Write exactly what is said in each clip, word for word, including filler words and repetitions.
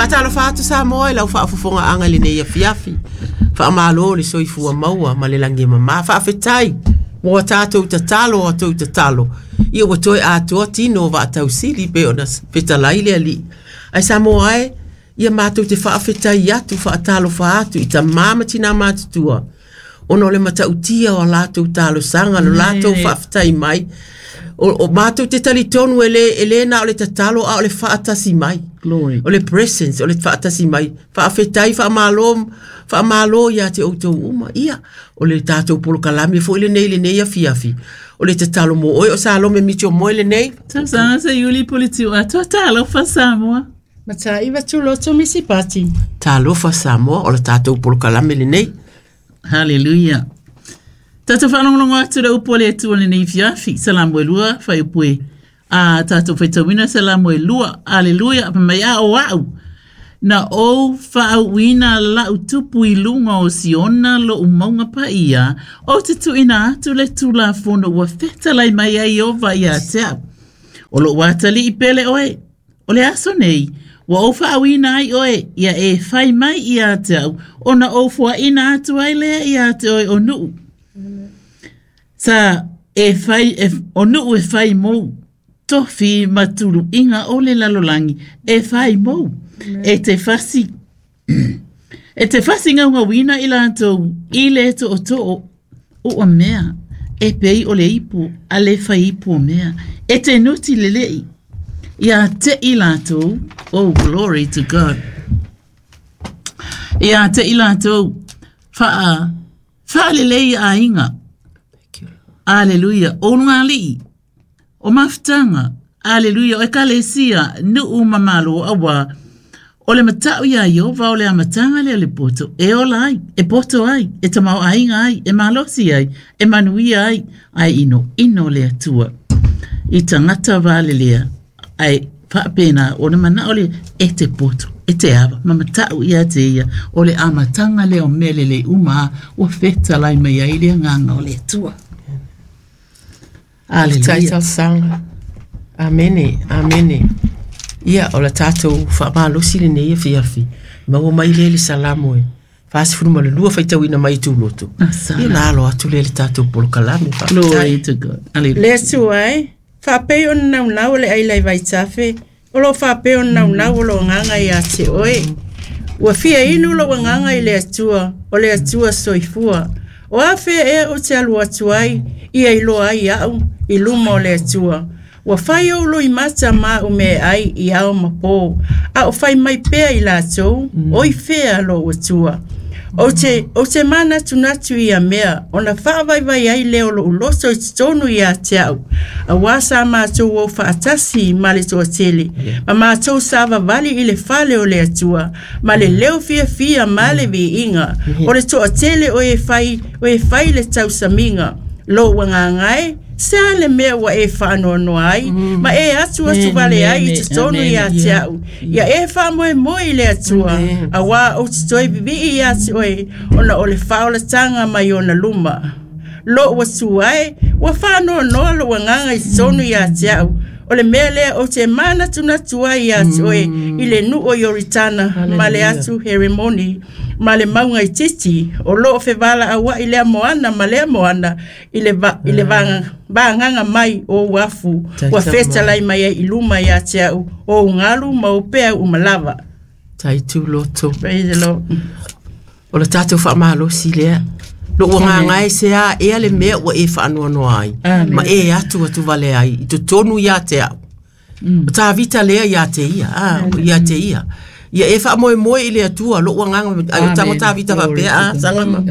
Faatalofa atu Samoa i lau faafofogaaga i lenei afiafi. Faamalo le soifua maua ma le lagi e mama. Faafetai mo a tatou tatalo a tou tatalo. Ia ua toe atoa tino o vaatausili pe ona fetalai le Alii. Ae Samoa e, ia matou te faafetai atu, faatalofa atu i tamā ma tinā matutua, ona o le matautia o a latou talosaga, lo latou faafetai mai. O, o matou te talitonu e le, e le na o le tatalo a o le faatasi mai. Glory. O le presence, o le faatasi mai. Faafetai, faamalo, faamalo ia te outou uma. Ia, o le tatou polokalame foi lenei lenei afiafi. O le tatalo mo oe o Salome Mitchell Moe lenei. Tausaga Seiuli Puleti Atoa talofa Samoa. Mataiva Tuloto Misipati. Talofa Samoa, o le tatou polokalame lenei. Hallelujah. Tatou faalogologo atu le upu a le Atua lenei afiafi. Salamo e lua, fuaiupu e a tatou faitauina Salamo e lua. Aleluia. Fai mai a o au. Na ou faauuina lau tupu i luga o Siona lo'u mauga paia, ou te tuuina atu le tulafono ua fetalai mai ai Ieova ia te au. O lou atalii pele oe, o le aso nei, ua ou faauuina ai oe, ia e fai mai ia te au, ona ou foaina atu ai lea ia te oe o nuu. Sa e fai, e, o nuu e fai mou, tofi ma tuluiga o le lalolagi e fai mou. E te fasi, e te fasi gaugauina i latou i le tootoo ua mea, e pei o le ipu a le fai ipu o mea. E te nuti lelei, ia te i latou, oh glory to God. Ia te i latou, faa, faalelei aiga. Aleluia. O lugalii, o mafutaga, aleluia, o ekalesia, nuu ma malo aua, o le matau ia Ieova o le amataga lea o le poto, e ola ai, e poto ai, e tamaoaiga ai, e malosi ai, e manuia ai, ae inoino le Atua. I tagata valelea, ae faapena ona manao le e te poto, e te ava, ma matau ia te ia, o le amataga lea o mea lelei uma ua fetalai mai ai le agaga o le Atua. Faafetai Aleluia. talosaga. Amene, amene. Ia, o le tatou faamalosi lenei afiafi. Maua mai lea le Salamo e fasefulu ma le lua faitauina mai i Tuloto. Asala. Ia na alo atu lea le tatou polokalame. Faafetai. Glory to God. Hallelujah. Le Atua e, faapei ona naunau o le aila i vaitafe, o loo faapei ona naunau o lou agaga ia te oe. Ua fia inu lou agaga i le Atua, o le Atua soifua. O a fea ea ou te alu atu ai, ia iloa ai au, i luma o le Atua. Ua fai ou loimata ma au mea ai i ao ma pō, a o fai mai pea i latou, o i fea lou Atua. Ou te, ou te manatunatu ia mea, ona faavaivai ai lea o lou loto i totonu ia te au. Auā sa matou o faatasi ma le toatele, ma matou savavali i le fale o le Atua, ma le leo fiafia ma le viiga. O le toatele o e fai, o e fai le tausamiga. Lou agaga e, se a le mea ua e faanoanoa ai, ma e atu atu vale ai i totonu ia te au. Ia e faamoemoe i le Atua, auā ou te toe vivii ia te oe, ona o le faaolataga mai ona luma. Lou Atua e, ua faanoanoa lou agaga i totonu ia te au. O le mea lea ou te manatunatu ai ia te oe i le nuu o Ioritana ma le atu Heremoni ma le mauga i Titi, o loo fevalauai lea moana ma lea moana i le, va, i le vaga, vagaga mai o ou afu ua fetalai mai ai i luma ia te au o ou galu ma ou peau uma lava. Tai Tuloto. Praise the Lord. O le tatou faamalosi lea. Lou agaga e se a ea le mea ua e faanoanoa ai. Amen. Ma e atu atu vale ai i totonu ia te au. O Tavita lea ia te ia. Ah, ia te ia. Ia e faamoemoe i le Atua, lou agaga, ai o tango Tavita faapea, ah, saga ma.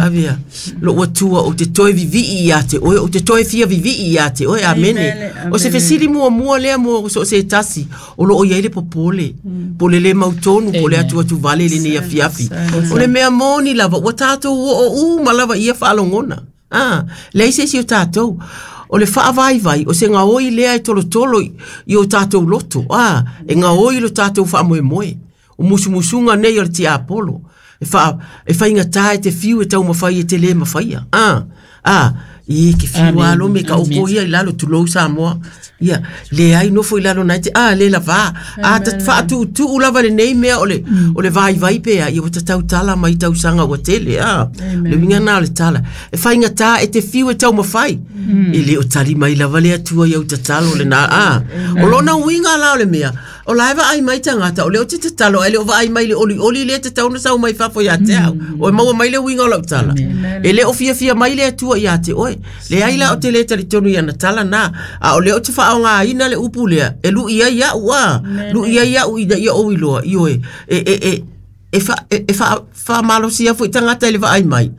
Avea. Lou Atua, ou te toe vivii ia te oe, ou te toe fia vivii ia te oe, amene. Amen, O se fesili muamua lea mo so o se tasi, o loo i ai le popole. Po le le mautonu, po le atu atu vale lenei afiafi. O le mea moni lava, ua tatou oo uma lava ia faalogona. Ah, leai se isi o tatou. O le faavaivai, o se gaoi lea e tolotolo i, i o tatou loto. Ah, e gaoi lo tatou faamoemoe. O musumusuga nei o le tiapolo. E, wha, e whainga e te fiu e taumawhai e te le mawhaia. Ah, ah, I ke fiu alo me ka oko ia i lalo tulou Samoa. Ia, le ai nofo i lalo nai te, a, le lava. A, ta whaatu tu lava le nei mea o le, o le vai vai pea, ia wata tau tala mai tau sanga ua tele, a. Le winga nā le tala. E whainga tā e te fiu e tau mawhai. E le o tali mai lava le atua i au tatalo le nā, a. O lona winga la o le mea, o la eva ai mai tangata, o le o te tatalo, ai le o va ai mai le oli oli le te tauna sau mai fafo ia te au. O e maua mai le winga o lau tala. E le o fia fia mai le atua ia te oe. Le ai la o te le talitonu ia na tala nā. A o le o te whaonga ina le upu lea. E lu ia ia ua. Lu ia ia u ina ia o iloa. I oe. E, e, e, e, fa, e, e fa, fa malosia fo i tangata e le vaai mai.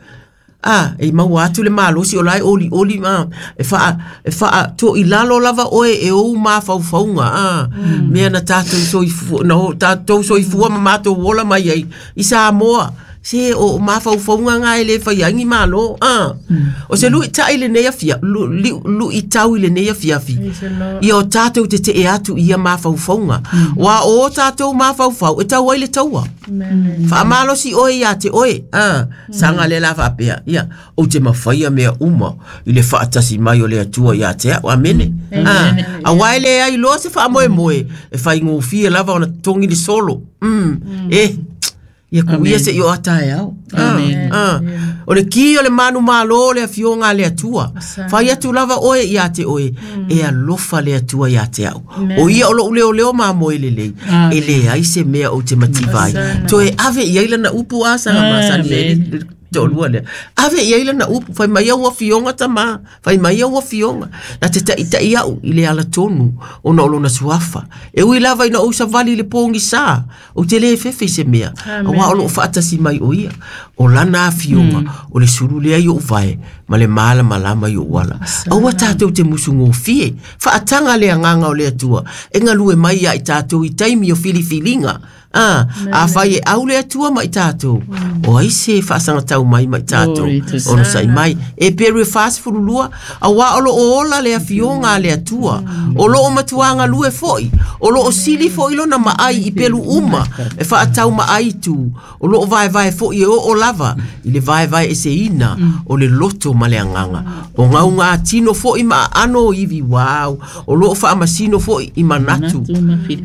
Ah, e maua atu le malosi o lai oli oli ma e fa e fa to i lalo lava oe e o mafaufaunga ah mm. Mea na tātou soifua na tātou soifua ma mātou ola mai ai i Samoa se o mafaufaunga ngā e le whaiangi malo ah mm. O se lui tai le nei afia lu, lu i tau i le nei afia fi i o tātou te te e atu ia mafaufaunga mm. Wa o tātou mafaufau e tau ai le taua. Wha malosi oe ia te oe ah sanga le la whapea ia o te mawhaia mea uma i le whaatasi mai o le atua ia te au amene ah a wai le ai loa se wha moe moe e whai ngōfia lava ona tongi le solo mm e ia ku ia se i o atae au. Amen. Ah, o le ki o le manu malo le afioga le atua. Fai atu lava oe ia te oe. E alofa le atua ia te au. O ia o lou leo leo ma moe lelei. E le ai se mea o te mativai. Toe ave ia ila na upu a sanga masani me tolua lea. Ave ia ila na upu. Fai mai au afioga tama. Fai mai au afioga. Na te ta'itai au i le ala tonu ona o lona suafa. E ui lava ina ou savali le pōgi sā. O te le fefe i se mea. Aua o loo whaatasi mai o ia. O lana afioga o le sulu lea i o vae ma le mala malama i o wala. Aua tātou te musu ngōfie. Whaatanga le anganga o le atua. E ngalue mai ia i tātou i taimi o filifilinga. Ah, a whai e au le atua mai tātou. O ai se whaasangatau mai mai tātou. Ono sai mai. E peru e whaasifurulua. A wā olo o ola le afioga le atua. O lo o matuanga lue foi. O lo o sili foi lona maai i pelu uma. E whaatau maai tu. O lo o vae vae foi e o o lava. I le vae vae e se ina. O le loto ma le anganga. O ngau ngā tino foi ma ano iwi wau. O lo o whaamasino foi i manatu.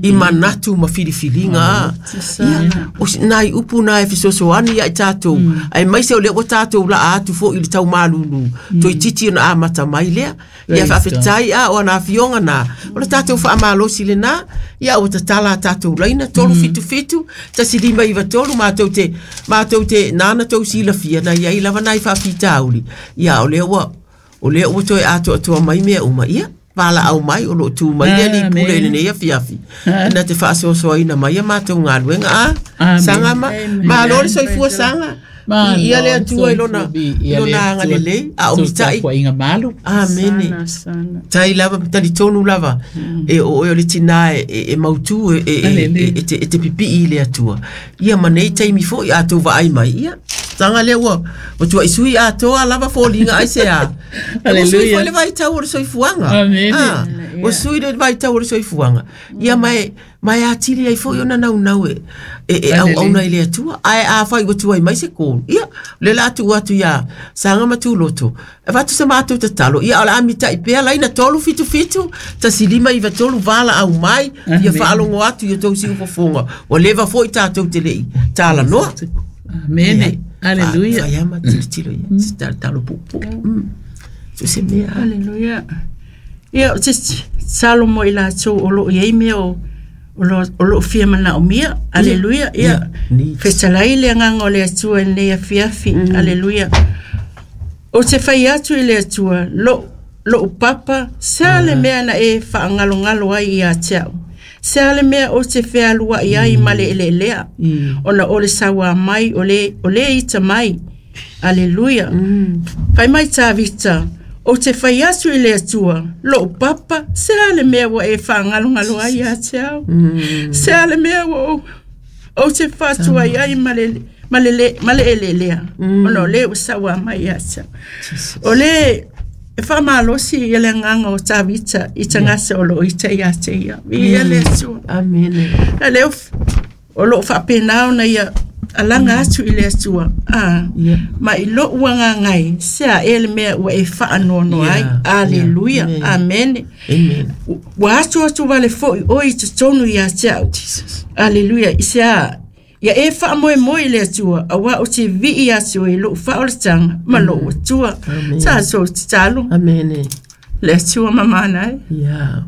I manatu ma filifilinga. Ia, o nai upu nai fisosoani ia i tātou. Ai mai se o leo tātou la atu fo i le tau malulu. Toi titi ona amata mai lea. Ia whaafetai a o ana afionga nā. O le tātou whaamalosi le nā. Ia o tatala tātou laina. Tolu fitu fitu. Tasi lima iwa tolu. Mātou te, mātou te nāna tau sila fia. Nā ia i lava nai whaafitauli. Ia o leo wa, o leo wa toi ato atua mai mea uma. Ia. Pala au mai o lo tu mai le li pule le nei afiafi. Na te faasoasoaina mai a matou galuega a saga ma malo le soifua saga. Ia le atua i lona i lona agalelei a o mita'i amene. Tai lava talitonu lava e o oe o le tinā e e mautū e e e te e te pipi'i i le atua. Ia ma nei taimi fo'i a tou vaai mai ia. Tanga lea ua ua tua'i atoa lava foliga ai se a. Ua sui foi le vaitau o le soifuaga. Ah, ua sui le vaitau o le soifuaga. Ia mae mae atili ai foi ona naunau e e e auauna i le Atua. Ae afai ua tuai mai se kolu. Ia, le la atu atu ia saga ma tuloto. E vatu se matou tatalo. Ia o le amita'i pea laina tolu fitu fitu, tasi lima iva tolu vala au mai, ia faalogo atu ia tou siufofoga. Ua leva foi tatou te le'i talanoa. Amene. Aleluia. Whaiama tilotilo ia. Se talo pupu. So se mea. Aleluia. Ia, te salomo i latou o loo iai mea o o loo fia manaomia. Aleluia. Ia, fetalai le agaga o le Atua i lenei afiafi. Aleluia. O te fai atu i le Atua, lou lou papa, se a le mea na e whaagalogalo ai ia te au. Se a le mea o te fealua'i ai ma le eleelea. Ona o le sauā mai, o le, o le ita mai. Aleluia. Fai mai Tavita, o te fai atu i le Atua, lou papa, se a le mea ua e whaagalogalo ai ia te au. Se a le mea ua o, o te whātua ai ma le, ma le, ma le eleelea. Ona o le ua sauā mai ia te au. O le e whamalosi i le nganga o Tavita i tangasa o lo ita ia te ia. Ia le Atua. Amene. A leo o lo whaapenao na ia alaga atu i le Atua a Ia. ma i lo'u agagai se a ea le mea ua e fa'anoanoa ai Yeah, aleluia yeah. amene Amen. ua atu atu vale fo'i oe i totonu iā te a'u aleluia i se a ia e fa'amoemoe i le Atua auā o te vi'i atu i lo'u fa'aolataga ma lo'u Atua Amen. tatou tatalo Amen. le Atua mamana ai Yeah.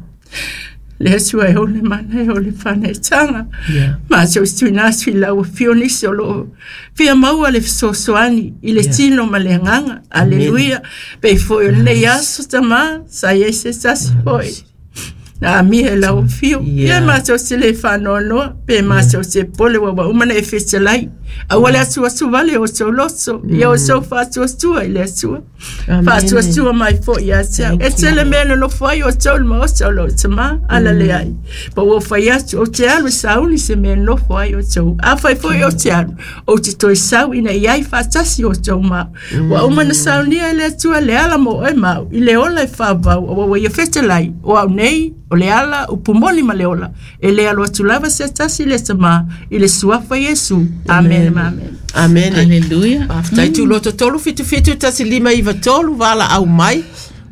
le Atua e ole mana e ole whanetanga. Yeah. Mātou tuina atu i lau afio nisi o loo fia maua le fesoasoani i le Yeah. tino ma le agaga. Aleluia. Pe foi o lenei aso tamā, sa i ai se tasi foi. Na amia e lau afio. Yeah. Ia mātou te le whanoanoa, pe mātou te pole wawa uma na e fetelai. Aua le atu atu vale o tau loto, ia o tau whaatuatua i le Atua. Amen. Whaatuatua mai fo ia te au. Thank E tele mea no nofo ai o tau le maota o lou tamā, ala le ai. Pa ua whai atu o te alu e sauni se mea nofo ai o tau. A whai foi o te alu, o te toi sau ina i ai whaatasi o tau mau. Ua uma na saunia e le Atua le ala mo oe mau, i le ola e whāvau, o ua ia fetelai, o au nei, o le ala, o pumoli ma le ola. E le alo atu lava se tasi le tamā, i le suafa Iesu. Amen, amen. Amen. Aleluia. Faafetai tuloto tolu fitu fitu tasi lima iva tolu vala au mai.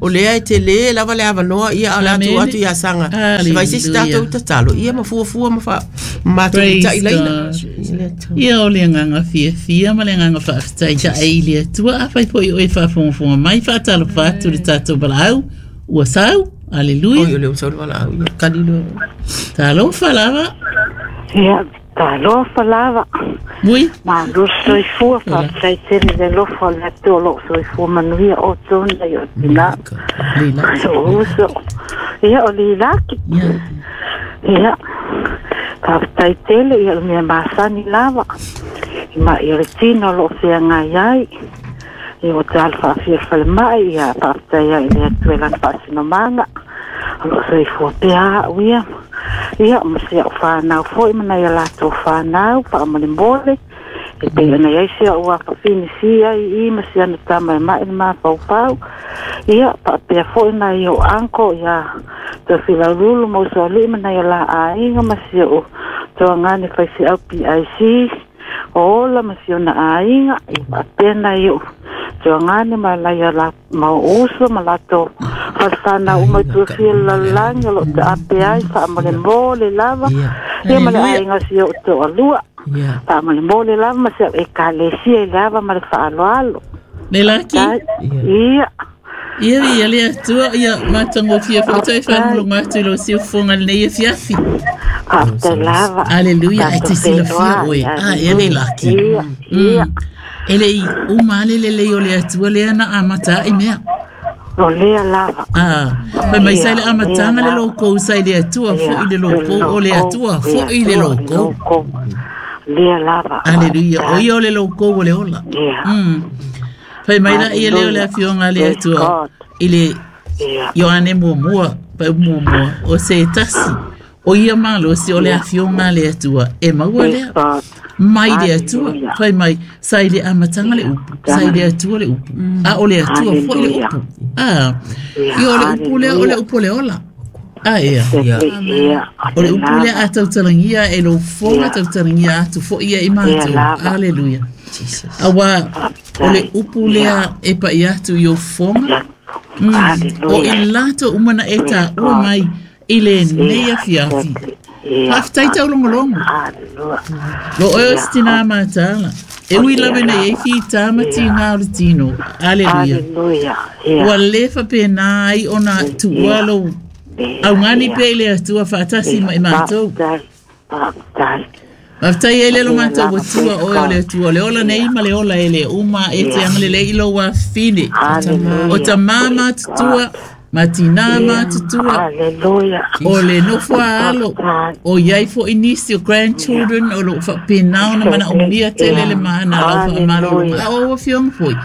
O lea e te le lava le avanoa ia o le atu Amen. atu ia sanga. Hallelujah. Vai se si tātou tatalo. Ia mafuafua ma fa mātou Praise ta'i laina. God. I le Atua. Ia o le agaga fiafia ma le agaga faafetai taʻai i le Atua afai foʻi oe faafogafoga mai faatalofa atu le tatou valaau ua sau Oi, aleluia o le usau le valaau. Ia kalilo. talofa lava Ia, talofa lava. mui Malo soifua, faafetai tele le alofa o le Atua o loo soifua manuia o tona i o tina. leila O uso. Ia, o lilaki. ia Ia, faafetai tele ia o le mea masani lava. I ma i o le tino o loo feagai ai. Ia ua te alo faafia le falemai, ia faafetai ai i le Atua i lana faasinomaga. O loo soifua pea a'u ia. Ia, ma se a'u whanau foi ma nai a latou whanau, faamolemole. E pei ona iai se a'u afafini ai i ma se ana tama e ma'i le mafaufau. Ia, faapea foi nai o anko ia Tofilaululu ma usoalii ma nai o la aiga ma si o'u toagane faiseau P I C o ola ma si ona aiga. Ia faapea nai o'u toagane ma lai o la ma o uso ma latou falefānau uma i tuafia le lalolagi o loo taape ai faamolemole lava. Ia. Ia ma le Hallelujah. aiga o si o'u toalua. Ia. Faamolemole lava ma se a'u ekalesia i le ava ma le faaaloalo. lelaki Tai. Ia. Ia. ia ia le Atua ia matagofia foʻi toe faalogologo atu i lou siufofoga lenei afiafi Faafetai lava. Aleluia, e te Tatou silafia oe. feiloai. A, e le laki. Ia, ia. E le i uma ale lelei o le Atua lea na amata ai mea. O lea lava. Ah, fai mai sai le amataga le Ia, loukou sai le Atua foʻi le loukou o le Atua foʻi le loukou. loukou. Lea lava. Aleluia, o ia o le loukou o le ola. Ia. Mm. Fai mai la ia lea o le afioga a le Praise Atua God. i le Ia. Ioane muamua, pa muamua, o se tasi. O ia malosi o le afioga a le Atua e maua Praise lea. God. Mai le Atua, Hallelujah. fai mai, sai le amataga le upu, sai le Atua le upu, a o le Atua foi le Hallelujah. upu. Ah, Ia, ia o le upu lea, o le upu o le ola. Ah, ia. Ia. Ia. O le upu lea a tautalagia e lou foga Ia. tautalagia atu foʻi ia i Ia matou. lava. Aleluia. Jesus. Auā, o le upu lea e paʻi atu i ou foga. Mm. O Hallelujah. i latou uma na e taua mai i lenei afiafi. Ia. Faafetai taulogologo. Hallelujah. Lo oe o se tinā matala. E ui lava nei e fitā ma tigā o le tino. Aleluia. Hallelujah. Ia. Ua le faapena ai ona tuua lou augani pea i le Atua faatasi ma i matou. Faafetai. Faafetai. Faafetai ai le lo matou atua oe o le Atua. O le ola nei ma le ola e le uma e te agalelei i lou afine. Hallelujah. O tamā matutua, ma tinā matutua, Hallelujah. o le nofo a alo, o iai foʻi nisi o grandchildren o loo faapena ona manaomia tele le mana lau faamalologa a o afioga foi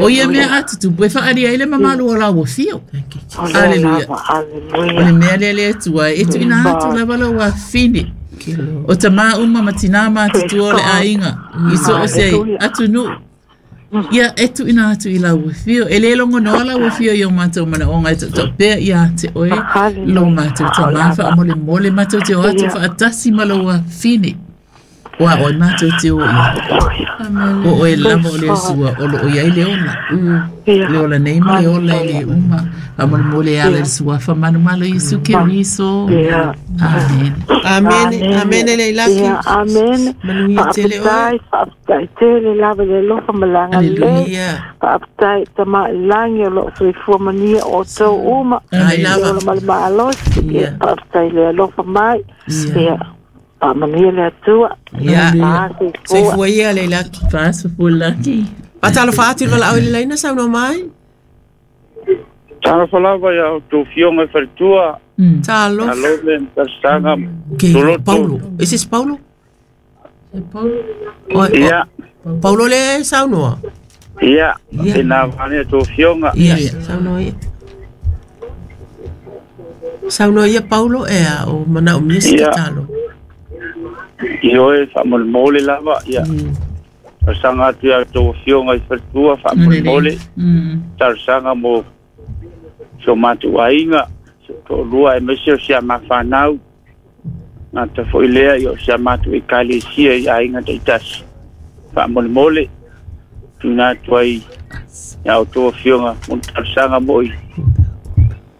o ia mea atutupu e faaalia ai le mamalu o lau afio. Thank you, Jesus. O lea Hallelujah. lava. O le Hallelujah. mea lea le Atua e tuuina atu lava lau afine Thank you, Lord. o tamā uma ma tinā matutua o le aiga i so o se atunuu ia e tuuina atu i lau afio e lē logonoa lau afio i o matou manaoga e tautaupea iā te oe lo matou tamā faamolemole matou te o atu faatasi ma lou afine. Wa o matou te o ia. O oe lava o le Sua o lo o iai le ola. Le ola nei ma le ola i le uma. Faamolemole e ala i le suafa manumalo Iesu Keriso. Amen. Amen. Amen le ilaki. Ia, amen. Manuia tele oe. Faafetai, faafetai tele lava i le alofa ma le agalelei. Ia. Faafetai tamailagi o loo soifua manuia o outou uma. Ai Le lava. ola ma le malosi. Ia, faafetai le alofa mai. Ia, faamanuia le Atua. Ia. Ah, soifua. Soifua ia le ilaki. Faasofua laki. Fatalofa atu i le valaau i le laina saunoa mai. Talofa lava ia outou fioga i faletua, Mm. Talofa. alo le talosaga Ke Toloto. Paulo. Is this Paulo? Oi, Ia, o- Paulo le saunoa. ia, Ia. e nā vane outou fioga. Ia, saunoa ia. Saunoa ia Paulo e a o mana o mia se Ia. tatalo. I oe faamolemole lava, ia. Talosaga atu ia outou fioga i faletua, faamolemole. Mm. Talosaga mo si o matou aiga, si o toalua aemaise o si a mafanau. Gata foʻi lea ia o si a matou ekalesia i aiga taʻitasi. Faamolemole, tuuina atu ai ia outou afioga mo le talosaga moʻi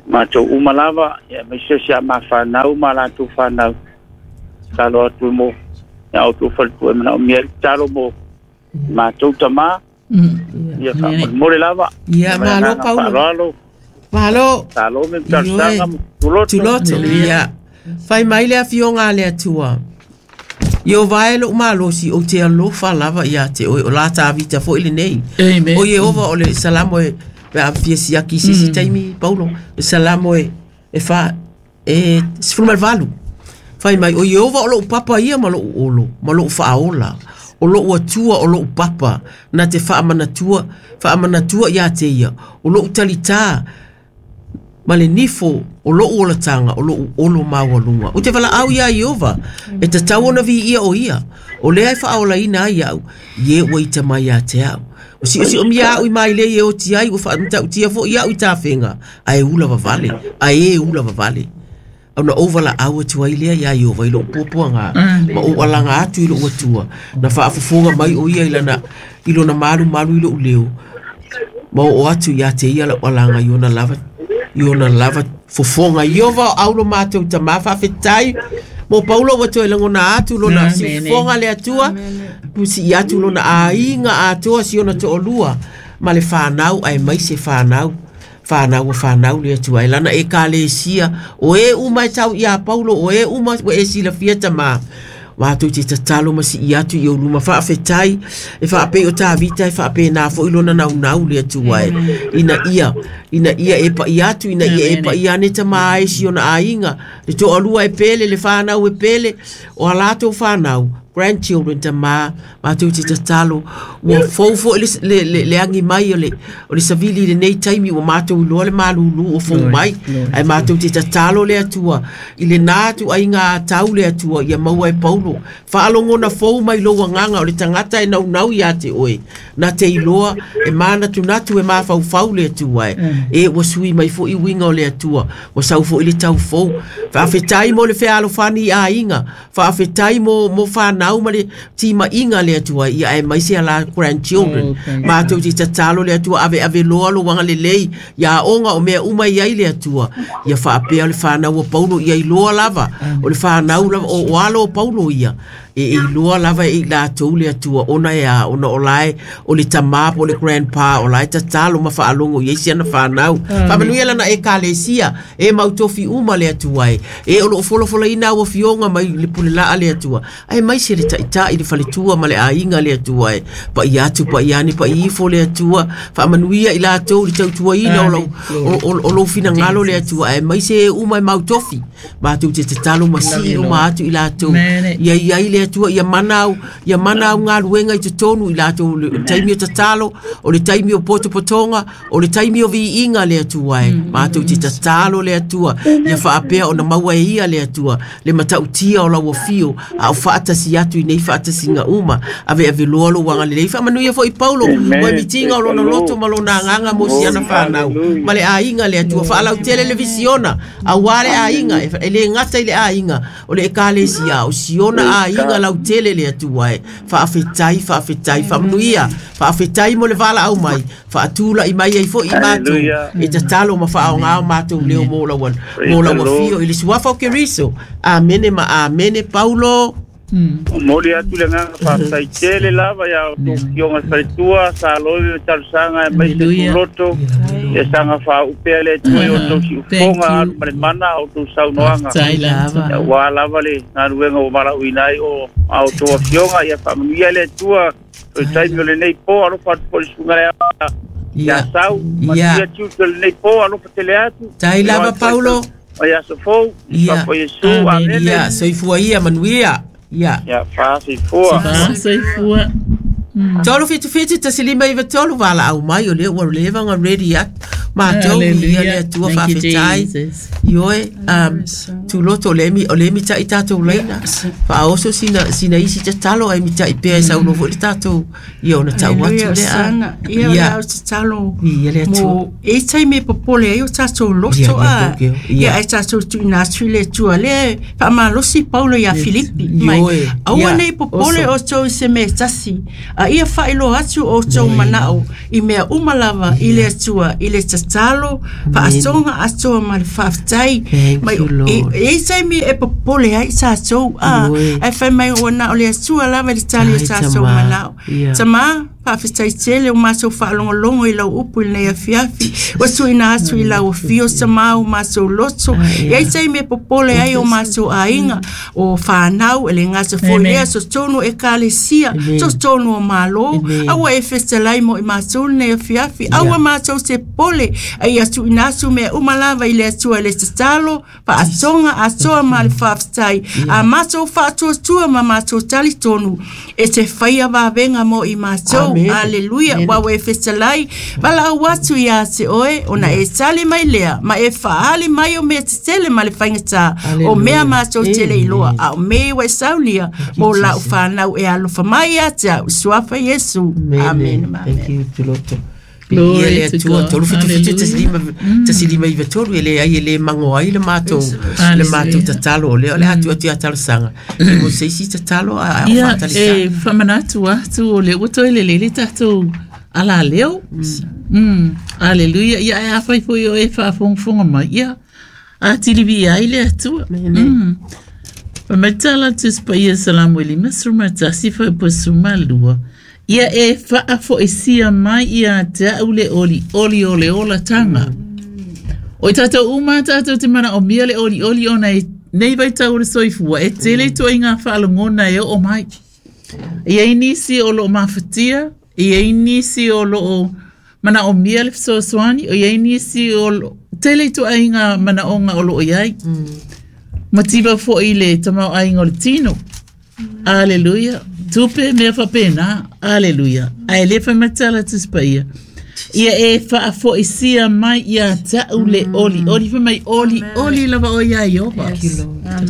matou uma lava, ia aemaise o si a mafanau ma latou fanau. Talo atu mo ia outou faletua e manaomia ai le tatalo mo matou tamā, Mm. ia faamolemole lava. Ia, Ma le malo agaga Paulo. faaaloalo. Malo. Talo me talosaga mo tuloto. Tuloto. Ia. Fai mai le afioga a le Atua. Ia o vae lou malosi o te alofa lava ia te oe o la tāvita foʻi lenei. Amen. O Iehova o le salamo e pe a fia siaki i se isi taimi Paulo. Le salamo e e fa e sefulu ma le valu. Fai mai o Iehova o lou papa ia ma lou olo ma lou faaola. O lou atua o lou papa na te faamanatua faamanatua ia te ia. O lou talitā ma le nifo o lou olataga o lou olo maualuga. O te valaau iā Iova e tatau ona viia o ia. O lea e faaolaina ai au, ie ua ita mai ia te au. O siosiomia au i mai lei e oti ai ua faamatautia foʻi au i tafega, ae ula vavale, ae e ula vavale. Ona ou valaau atu ai lea iā Iova i lou puapuaga ma ou alaga atu i lou atua. Na faafofoga mai o ia i lana i lona malumalu i lou leo. Ma oo atu ia te ia lau alaga i ona lava i ona lava fofoga. Iova o aulo matou tamā faafetai. Mo Paulo ua toe lagona atu lona Amen. sifofoga le Atua. Pusi atu lona aiga atoa si ona toalua ma le fanau aemaise fanau. Fanau o fanau le Atua e lana ekalesia o e uma e tau iā Paulo o e uma ua e silafia tamā. Matou te tatalo ma sii atu i ou luma faafetai e faapei o Tavita e faapenā foʻi lona naunau le Atua e ina ia ina ia e paʻi atu ina ia e paʻi ane tamā ai si ona aiga le toalua e pele le fanau e pele o a latou fanau grandchildren tamā matou te tatalo ua fou foʻi le, le, le, le agi mai o le, o le savili i lenei taimi ua matou iloa le malūlū o fou mai ae matou te tatalo le Atua i lenā atu aiga atau le Atua ia maua e Paulo faalogona fou mai lou agaga o le tagata e naunau iā te oe na te iloa e manatunatu e mafaufau le Atua e e ua sui mai foʻi uiga o le Atua ua sau foʻi le taufou faafetai mo le fealofani i aiga faafetai mo mo fanau ma le timaiga le Atua ia aemaise a la grandchildren Oh, thank matou te tatalo le Atua aveave loa lou agalelei ia aoga o mea uma i ai le Atua ia faapea o le fanau o Paulo ia iloa lava o le fanau lava o, o alo o Paulo ia e e iloa lava e i latou le Atua ona e a ona o lae o le tamā po o le grandpa o lae tatalo ma faalogo i ai siana fanau. Faamanuia lana ekalesia e mautofi uma le Atua e e o loo folafolaina au afioga mai le pulelaa le Atua aemaise le taʻitaʻi le faletua ma le aiga le Atua e paʻi atu paʻi ane paʻi ifo le Atua faamanuia i latou le tautuaina o lou o, o, o lou finagalo le Atua aemaise e uma e mautofi matou te tatalo ma sii uma atu i latou ia i ai le Atua ia mana au ia mana au galuega i totonu i latou le taimi o tatalo o le taimi o potopotoga o le taimi o viiga le Atua e matou te tatalo le Atua ia faapea ona maua e ia le Atua le matautia o lau afio a o faatasi atu i nei faatasiga uma aveaveloa lou agalelei faamanuia foʻi Paulo Amen. mo e mitiga o lona loto ma lona agaga mo siana fanau ma le aiga le Atua faalautele le visiona auā le aiga e e lē gata i le aiga o le ekalesia o siona aiga lautele le Atua e. Faafetai, faafetai, faamanuia. Faafetai mo le valaau mai. Faatula'i mai ai fo'i matou. Hallelujah. E tatalo ma faaaogā o matou leo mo lau mo lau the Lord. afio i le suafa o Keriso. Amene ma amene Paulo. Momoli atu le agaga faafetai tele lava ia outou afioga i faletua sa loi ma talosaga e mai se Hallelujah. tuloto ia saga faaupea le Atua i outou Thank siufoga you. alu ma le mana a outou saunoaga Faafetai lava. Ia, ua lava le galuega ua valaauina ai o a outou afioga ia faamanuia le Atua o le taimi o lenei po alofa atu foi le susuga le Ia. ia sau Ia. manuia tiute o lenei po alofa tele atu Tai lava, Paulo. Mai aso fou Ia. Suafa Iesu Amen. amene Ia, soifua ia manuia. Ia. ia faasoifua Faasoifua. Tolu fitu fitu tasi lima iwa tolu valaau mai o lea ua leva ona ready atu matou ia le Atua Thank you, faafetai. Jesus. Ioe, um, tuloto o le emi, o le emi ta'i tātou leina. Faaoso sina, sina isi tatalo ai mita'i pea e saunoa foi le tātou ia ona tau atu Hallelujah, lea. Osana. Ia o le au tatalo Ia le Atua. mo e taimi e popole ai o tātou Ia, loto ia, a. ia, ia. Ia ai tātou tuuina atu i le Atua lea e faamalosi Paulo ia Filipi mai. Ioe, Aua ia, nei popole oso. outou i se mea tasi. A ia faailoa atu outou manao i mea uma lava i le Atua i le tatalo faasoga atoa ma le faafetai. Thank Mai you, Lord. e e taimi e popole ai tātou a. Ioe. Ai fai mai ua na o le Atua lava i le tali o Ai, tātou tamā. manao. Ia. Tamā, faafetai tele o matou faalogologo i lau upu i lenei afiafi. Ua tuuina atu i lau afio tamā o matou loto. Ai, E ai taimi e popole ai o matou aiga, o whanau, e le gata foi Amen. lea, totonu ekalesia, Amen. totonu o Malo. Amen. Aua e fetalai mo i matou lenei afiafi. Aua matou te pole, ai atu ina atu mea uma lava i le Atua i le tatalo, faatoga atoa ma le faafetai. A matou faatuatua ma matou talitonu, e te faia vavega mo i matou. Amen. Aleluia. Amen. Ua e fetalai, valaau atu ia te oe, ona e tali mai lea, ma e faali mai o mea tetele ma le faigata, o mea Hallelujah. matou tele iloa, a o mea ua e saulia, mo lau whanau e alofa mai ia te au, suafa Iesu. Amen. Amen. Thank you, Tuloto. Glory Ia le to Atua, God. tolu fitu fitu tasi lima, Hallelujah. tasi lima iwa tolu, e le ai e le mango ai le matou, le Hallelujah. matou tatalo o lea, o le atu atu ia talosaga. E mo se isi tatalo a a Ia, whaatalisa. e whamanatu atu o le ua toe lele le tātou ala leo. Mm. Aleluia. Ia, e awhai foi o e whaafongafonga mai. Ia, a tilivi ai le atua. Mm. Pamatala tuspaia salamu eli masruma tasi fai posuma lua. Ia e whaafoesia mai ia te au le oli oli o le ola tanga. O i tātou uma tātou te mana o mia le oli oli ona e nei vai tau o le soifua e tele toa i ngā whaalongona e o mai. Ia i nisi o loo mafatia, ia i nisi o loo mana o mia le fesoasoani, o ia i nisi o loo tele toa i ngā mana onga o loo iai. Mativa foi le tamau ainga o le tino. Aleluia. Tupe mea whapena. Aleluia. Ai le whamatala tuspaia. Ia e whaafoisia mai ia tau le oli. Oli wha mai oli. Oli lava o ia iova.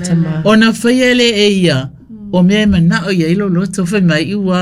Tama. Ona whaia le e ia. O mea e manao ia ilo loto whai mai ua